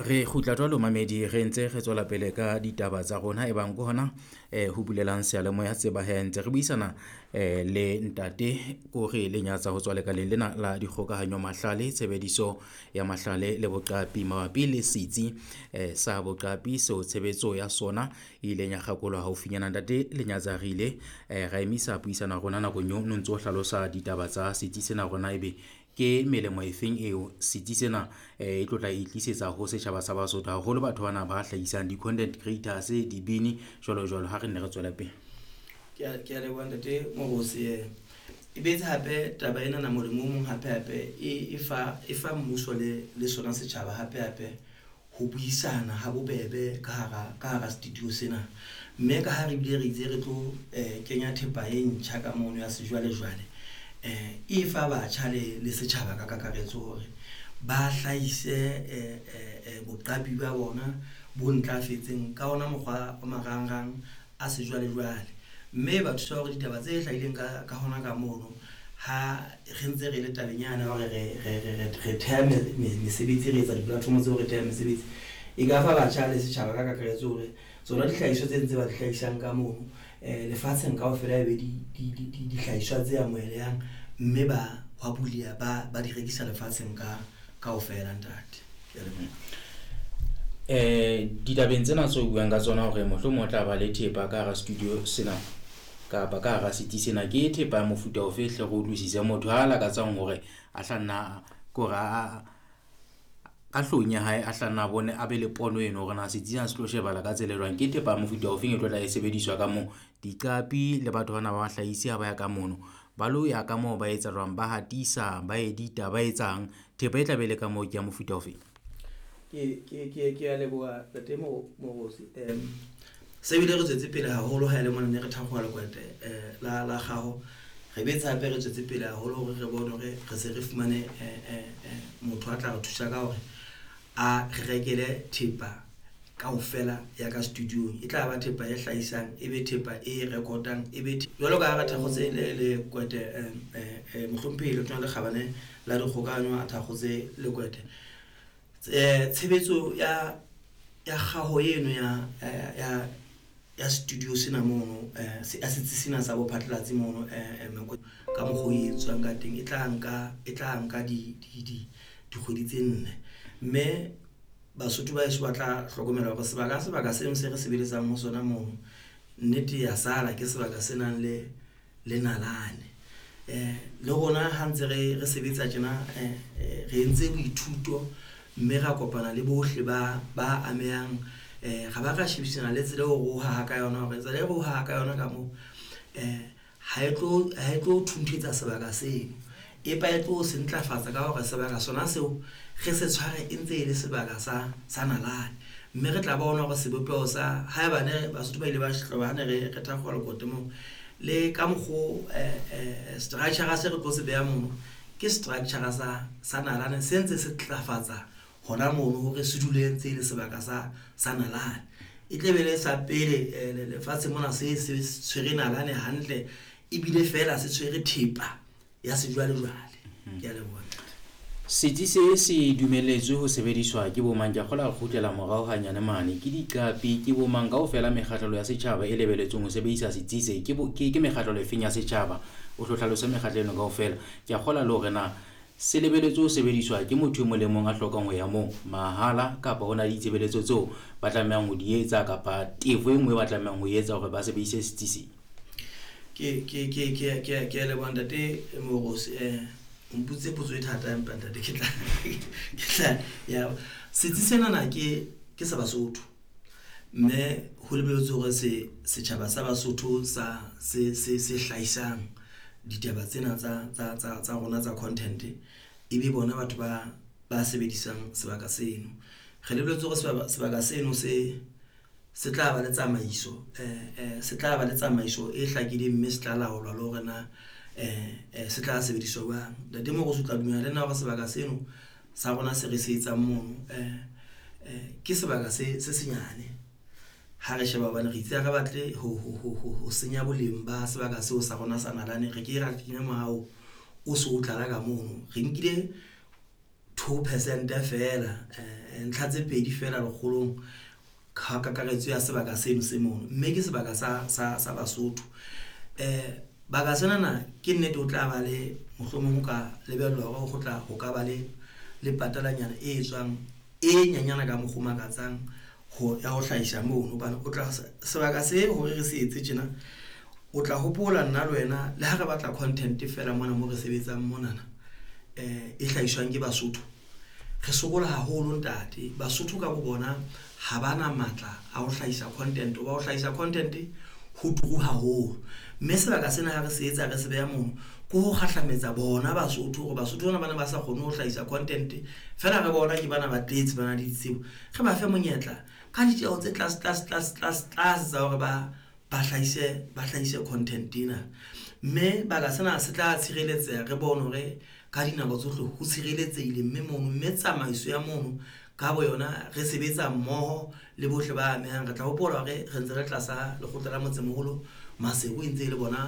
Re kgutla jwalo mamedi, re ntse re tswela pele ka ditaba tsa rona. E bang ke hona ho bulelang seyalemoya tseba hee ntse re buisana le ntate Kore Lenyatsa ho tswa lekaleng lena la dikgokahanyo, mahlale, tshebediso ya mahlale le boqapi mabapi le setsi sa boqapi seo tshebetso ya sona e ileng ya kgakolwa haufinyana. Ntate Lenyatsa re ile ra emisa puisano ya rona nakong eo no ntso hlalosa ditaba tsa setsi sena hore na ebe ke melemo e feng eo setsi sena e tlo tla e tlisetsa ho setjhaba sa Basotho, haholo batho bana ba hlahisang di-content creators, dibini jwalo jwalo. Ha re nne re tswele pele. Ke a leboha, ntate Morosi. E betse hape taba ena na molemo o mong hape hape e fa mmuso le sona setjhaba hape hape ho buisana ha bobebe ka hara studio sena. Mme ka ha re bile re itse re tlo kenya thepa e ntjha ka mono ya sejwalejwale, e fa batjha le setjhaba ka kakaretso hore ba hlahise boqapi ba bona bo ntlafetseng ka ona mokgwa wa marangrang a sejwalejwale, mme ba thusa hore ditaba tse hlahileng ka hona ka mono, ha re ntse re le tabeng yana hore re theha mesebetsi, re etsa di-platform tseo, re theha mesebetsi, e ka fa batjha le setjhaba ka kakaretso hore tsona dihlahiswa tse ntse ba di hlahisang ka mono lefatsheng kaofela e be dihlahiswa tse amohelehang, mme ba hwa buleha, ba di rekisa lefatsheng ka kaofela, ntate. Ke a leboha. Ditabeng tsena tseo buang ka tsona hore mohlomong o tla ba le thepa ka hara studio sena kapa ka hara setsi sena, ke thepa ya mofuta ofe hle re utlwisise motho ha a lakatsang hore a hla nna ke hore ka hloohong ya hae a hla nna a bone a be le pono eno hore na setsi sena se tlo shebahala ka tsela e jwang. Ke thepa ya mofuta ofeng e tlo tla e sebediswa ka moo? Diqapi le batho bana ba bahlahisi ha ba ya ka mono, ba lo ya ka moo, ba etsa jwang? Ba hatisa, ba edit-a, ba etsang? Thepa e tla be e le ka moo ke ya mofuta ofeng? Ke a leboha, ntate Morosi. Se bile re tswetse pele haholo ha ele mona ne re thakgoha lekwete la kgaho. Re betse hape re tswetse pele haholo hore re bone hore re se re fumane motho a tla re thusa ka hore a re rekele thepa kaofela ya ka studio-ong. E tla ba thepa e hlahisang, e be thepa e rekotang, e be jwalo ka ha re thakgotse le lekwete, mohlomphehi Letona le Kgabane la Dikgokahanyo a thakgotse lekwete. Tshebetso ya kgaho eno ya studio sena mono, ya setsi sena sa bophatlalatsi mono, ka mokgwa o e etswang ka teng, e tla nka dikgwedi tse 4. Mme Basotho ba heso ba tla hlokomela hore sebaka seno se re sebeletsang ho sona mono, nnete ya sala ke sebaka se nang le nalane. Le rona ha ntse re sebetsa tjena, re entse boithuto mme ra kopana le bohle ba amehang, ra ba ra shebisana le tsela eo re o haha ka yona, hore tsela e re o haha ka yona ka moo ha e tlo thunthetsa sebaka seno, empa e tlo se ntlafatsa ka hore sebaka sona seo re se tshware e ntse e le sebaka sa nalane. Mme re tla bona hore sebopeho sa haebane Basotho ba ile ba hloba ha ne re thakgola lekote moo le ka mokgo, structure se re tlo se beha mono ke structure sa nalane se ntse se tlafatsa hona mono hore se dule ntse e le sebaka sa nalane. E tle be le sa pele lefatshe mona se tshwere nalane hantle, ebile feela se tshwere thepa ya sejwalejwale. Ke a leboha. Setsi se se dumelletswe ho sebediswa ke bomang? Ke a kgolwa re kgutlela morao hanyane mane. Ke diqapi, ke bomang kaofela mekgahlelo ya setjhaba e lebelletsweng ho sebedisa setsi se? Ke mekgahlelo efeng ya setjhaba? O hlo hlalose mekgatlo eno kaofela. Ke a kgolwa le hore na se lebelletswe ho sebediswa ke motho e mong le mong a hlokang ho ya moo mahala, kapa ho na le ditshebeletso tseo ba tlamehang ho di etsa kapa tefo e nngwe ba tlamehang ho etsa hore ba sebedise setsi se? Ke a leboha, ntate Morosi. O mpotse potso e thata, empa ntate ke tla ya setsi sena na ke sa Basotho, mme ho lebelletswe hore se setjhaba sa Basotho sa se hlahisang ditaba tsena tsa rona tsa content e be bona batho ba sebedisang sebaka seno. Re lebelletse hore sebaka seno se tla ba le tsamaiso, se tla ba le tsamaiso e hlakileng, mme se tla laolwa le hore na se tla sebediswa jwang. Ntate Morosi, o tla dumela le nna hore sebaka seno sa rona se re se etsang mono ke sebaka se senyane ha re sheba, hobane re itse ha re batle ho senya boleng ba sebaka seo sa rona sa nalane. Re ke ra kenya moaho o so o tlala ka mono, re nkile. 2% feela, ntlha tse 2 feela lekgolong ka kakaretso ya sebaka seno se mono, mme ke sebaka sa Basotho. Baka senana ke nnete o tla ba le mohlomong ho ka lebellwa hore ho tla ho ka ba le patalanyana e etswang e nyenyana ka mokgwa o makatsang ho ya ho hlahisa mono, hobane o tla sebaka se hore re se etse tjena. O tla hopola nna le wena le ha re batla content fela mona mo re sebetsang monana, e hlahiswang ke Basotho, re sokola haholo ntate. Basotho ka bo bona ha ba na matla a ho hlahisa content, hoba ho hlahisa content ho turu haholo, mme sebaka sena ha re se etsa re se beha mono ke ho kgahlametsa bona Basotho hore Basotho bana bana ba sa kgone ho hlahisa content fela, re bona ke bana ba tletse ba na le ditsebo, re ba fe monyetla ka ditjeho tse tlase tlase tlase tlase tlase tsa hore ba hlahise content ena, mme baka sena se tla tshireletseha. Re bone hore ka dinako tsohle ho tshireletsehile, mme mono, mme tsamaiso ya mono ka bo yona re sebetsa mmoho le bohle ba amehang. Re tla hopola hore re ntse re tlasa lekgotla la motsemoholo Maseru, e ntse e le bona.